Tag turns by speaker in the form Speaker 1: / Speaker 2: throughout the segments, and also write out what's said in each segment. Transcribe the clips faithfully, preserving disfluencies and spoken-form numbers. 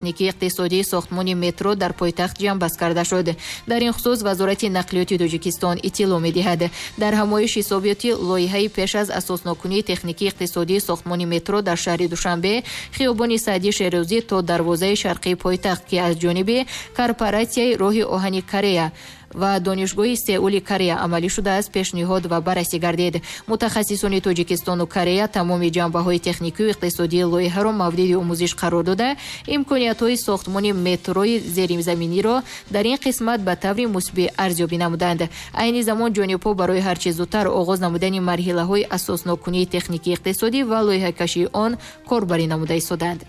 Speaker 1: Техникии иқтисодии сохтмони метро дар пойтахт ҷамъбаст карда шуд. Дар ин хусус Вазорати нақлиёти Тоҷикистон иттилоъ медиҳад. Дар ҳамоиш ҳисобиёти лоиҳаи пеш аз асосноккунии техникии иқтисодии сохтмони метро дар шаҳри Душанбе, хиёбони Саъди Шерозӣ то дарвозаи шарқии пойтахт, ки аз ҷониби корпоратсияи роҳи оҳани Корея ва Донишгоҳи Сеули Корея амалӣ шудааст, пешниҳод ва баррасӣ гардид. Мутахассисони Тоҷикистону Корея тамоми ҷанбаҳои техникию иқтисодии лоиҳаро мавриди омӯзиш қарор дода, имкониятҳои сохтмони метрои зеризаминиро дар ин қисмат ба таври мусбӣ арзёбӣ намуданд. Айни замон ҷонибҳо барои ҳарчи зудтар оғоз намудани марҳилаҳои асосноккунии техникии иқтисодӣ ва лоиҳакашии он корбарӣ намуда истоданд.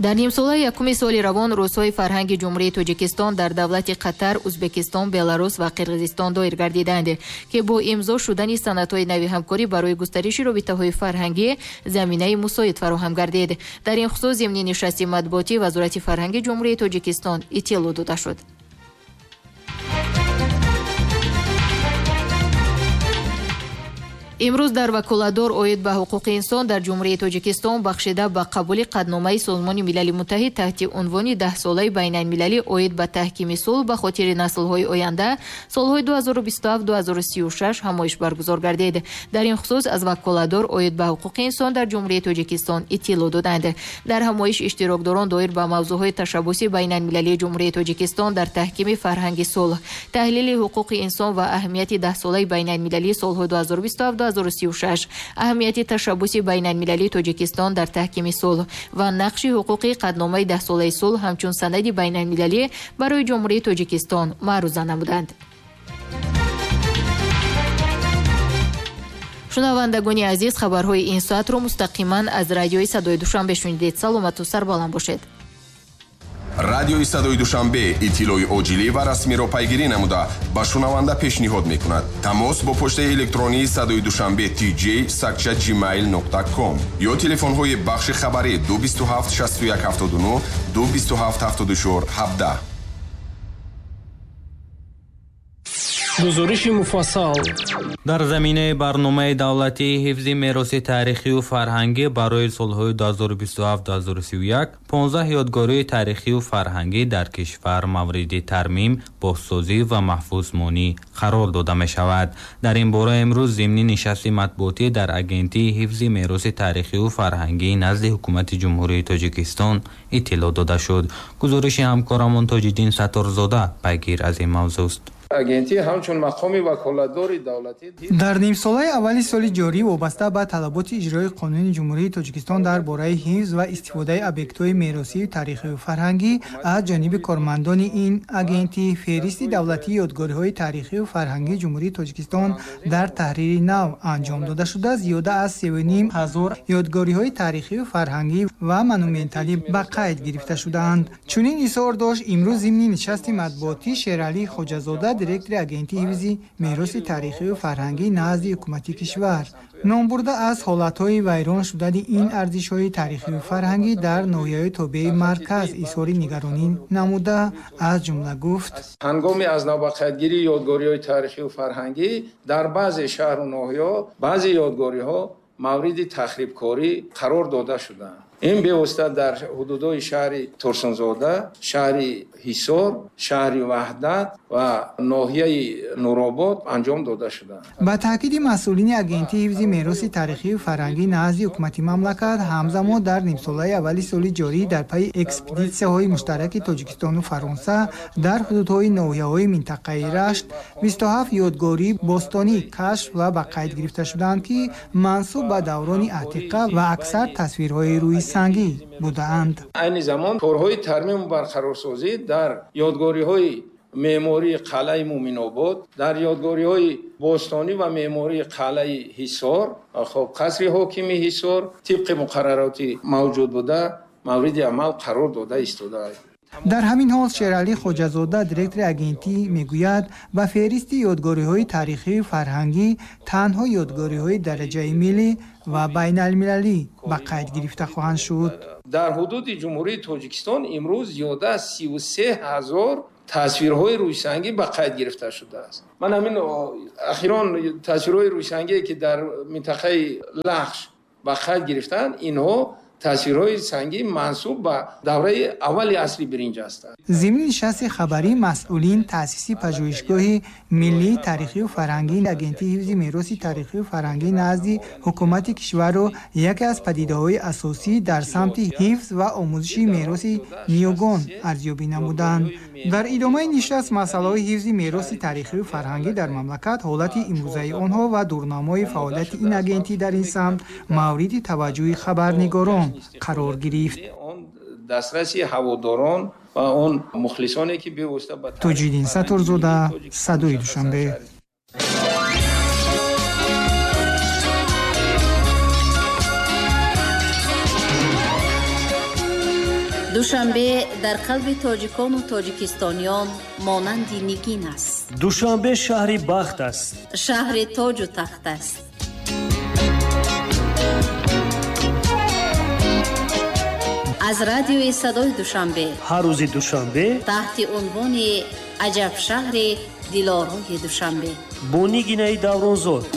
Speaker 1: Дар нимсолаи якуми соли равон рӯзҳои фарҳанги Ҷумҳурии Тоҷикистон дар давлати Қатар, Узбекистон, Беларус ва Қирғизистон доир гардиданд, ки бо имзо шудани санадҳои нави ҳамкорӣ барои густариши робитаҳои фарҳангӣ заминаи мусоид фароҳам гардид. Дар ин хусус зимни нишасти матбуотӣ Вазорати фарҳанги Ҷумҳурии Тоҷикистон иттилоъ дода шуд. Имрӯз дар ваколатдор оид ба ҳуқуқи инсон дар Ҷумҳурии Тоҷикистон бахшида ба қабули қатъномаи Созмони Милали Муттаҳид таҳти унвони даҳсолаи байналмилалӣ оид ба таҳкими сулҳ ба хотири наслҳои оянда солҳои ду ҳазору бисту ҳафт ду ҳазору сию шаш ҳамоиш баргузор гардид. Дар ин хусус аз ваколатдор оид ба ҳуқуқи инсон дар Ҷумҳурии Тоҷикистон иттилоъ доданд. Дар ҳамоиш иштирокдорон доир ба мавзӯъҳои ташаббуси байналмилалии Ҷумҳурии Тоҷикистон дар таҳкими фарҳанги сулҳ, таҳлили ҳуқуқи инсон ва аҳамияти даҳсолаи байналмилалии солҳои ду ҳазору бисту ҳафт ду ҳазору сию шаш, аҳамияти ташаббуси байналмилалии Тоҷикистон дар таҳкими сулҳ ва нақши ҳуқуқи қатъномаи даҳсолаи сулҳ ҳамчун санади байналмилалӣ барои Ҷумҳурии Тоҷикистон маъруза намуданд. Шунавандагони азиз, хабарҳои ин соатро мустақиман аз радиои Садои Душанбе шунидед. Саломату сарбаланд бошед.
Speaker 2: Радиои Садои Душанбе иттилои оҷилӣ ва расмиро пайгирӣ намуда ба шунаванда пешниҳод мекунад. Тамос бо почтаи электронии Садои Душанбе tj сакча gmail нуқта com ё телефонҳои бахши хабарӣ ду бисту ҳафт шасту як ҳафтоду нӯҳ, ду бисту ҳафт ҳафтоду чор ҳабдаҳ.
Speaker 3: Гузориши муфассал.
Speaker 4: Дар заминаи барномаи давлатии ҳифзи мероси таърихию фарҳангӣ барои солҳои ду ҳазору бисту ҳафт ду ҳазору сию як понздаҳ ёдгории таърихию фарҳангӣ дар кишвар мавриди тармим, бозсозӣ ва маҳфузмонӣ қарор дода мешавад. Дар ин бора имрӯз зимни нишасти матбуотӣ дар Агентии ҳифзи мероси таърихию фарҳангӣ назди Ҳукумати Ҷумҳурии Тоҷикистон иттилоъ дода шуд. Гузориши ҳамкорамон Тоҷиддин Сатторзода пайгир аз ин мавзӯст.
Speaker 5: Агентӣ ҳамчун мақоми ваколатдори давлатӣ
Speaker 6: дар нимсолаи аввали соли ҷорӣ вобаста ба талаботи иҷрои қонуни Ҷумҳурии Тоҷикистон дар бораи ҳифз ва истифодаи объектҳои меросию таърихию фарҳангӣ аз ҷониби кормандони ин агентӣ феҳристи давлатии ёдгориҳои таърихию фарҳангии Ҷумҳурии Тоҷикистон дар таҳрири нав анҷом дода шуда, зиёда аз севу ним ҳазор ёдгориҳои таърихию фарҳангӣ ва монументалӣ ба қайд гирифта шудаанд. Чунин изҳор дошт имрӯз зимни нишасти матбуотӣ Шералӣ Хоҷазода, директори Агентии ҳифзи мероси таърихию фарҳангӣ назди ҳукумати кишвар. Номбурда аз ҳолатҳои вайрон шудани ин арзишҳои таърихию фарҳангӣ дар ноҳияҳои тобеи марказ изҳори нигаронӣ намуда, аз ҷумла гуфт:
Speaker 5: ҳангоми аз навбақайдгирии ёдгориҳои таърихию фарҳангӣ дар баъзе шаҳру ноҳияҳо баъзе ёдгориҳо мавриди тахрибкорӣ қарор дода шуданд. Ин бевосита дар ҳудудҳои шаҳри Турсунзода, шаҳри Ҳисор, шаҳри Ваҳдат ва ноҳияи Нуробод анҷом дода шуданд.
Speaker 6: Ба таъкиди масъулини Агентии ҳифзи мероси таърихию фарҳангӣ назди ҳукумати мамлакат, ҳамзамон дар нимсолаи аввали соли ҷорӣ дар пайи экспедитсияҳои муштараки Тоҷикистону Фаронса дар ҳудудҳои ноҳияҳои минтақаи Рашт бисту ҳафт ёдгории бостонӣ кашф ва ба қайд гирифта шуданд, ки мансуб ба даврони атиқа ва аксар тасвирҳои рӯи сангӣ будаанд.
Speaker 5: Айни замон корҳои тармиму барқарорсозӣ дар ёдгориҳои меъмории қалъаи Муминобод, дар ёдгориҳои бостонӣ ва меъмории қалъаи Ҳисор, хоб қасри ҳокими Ҳисор тибқи муқаррароти мавҷуд буда мавриди амал қарор дода истодааст.
Speaker 6: Дар ҳамин ҳол Шералӣ Хоҷазода, директори агентӣ, мегӯяд ба феҳристи ёдгориҳои таърихию фарҳангӣ танҳо ёдгориҳои дараҷаи миллӣ ва байналмилалӣ ба қайд гирифта хоҳанд шуд.
Speaker 5: Дар ҳудуди Ҷумҳурии Тоҷикистон имрӯз зиёда аз сиву се ҳазор Тасвирҳои рӯйсангӣ ба қайд гирифта шудааст. Ман ҳамин ахирон тасвирҳои рӯйсангие ки дар минтақаи Лахш ба қайд гирифтанд, инҳо тасвирҳои сангӣ мансуб ба давраи аввали асри биринҷ ҳастанд.
Speaker 6: Зимни нишасти хабарӣ масъулин таъсиси пажӯҳишгоҳи миллии таърихию фарҳангии Агентии ҳифзи мероси таърихию фарҳангӣ назди ҳукумати кишварро яке аз падидаҳои асосӣ дар самти ҳифз ва омӯзиши мероси ниёгон арзёбӣ намуданд. Дар идомаи нишаст масъалаҳои ҳифзи мероси таърихию фарҳангӣ дар мамлакат, ҳолати имрӯзаи онҳо ва дурнамои фаъолияти ин агентӣ дар ин самт мавриди таваҷҷӯҳи хабарнигорон қарор гирифт.
Speaker 5: Дастраси ҳаводорон ва он мухлисоне ки бевосита ба
Speaker 6: Тоҷиддин Сатторзода, Садои Душанбе.
Speaker 3: Душанбе дар қалби тоҷикону тоҷикистониён монанди нигин аст.
Speaker 7: Душанбе шаҳри бахт аст,
Speaker 3: шаҳри тоҷу тахт аст. Аз радиои Садои Душанбе
Speaker 7: ҳар рӯзи душанбе
Speaker 3: таҳти унвони Аҷаб шаҳри дилорои Душанбе
Speaker 7: бо Нигинаи Давронзод.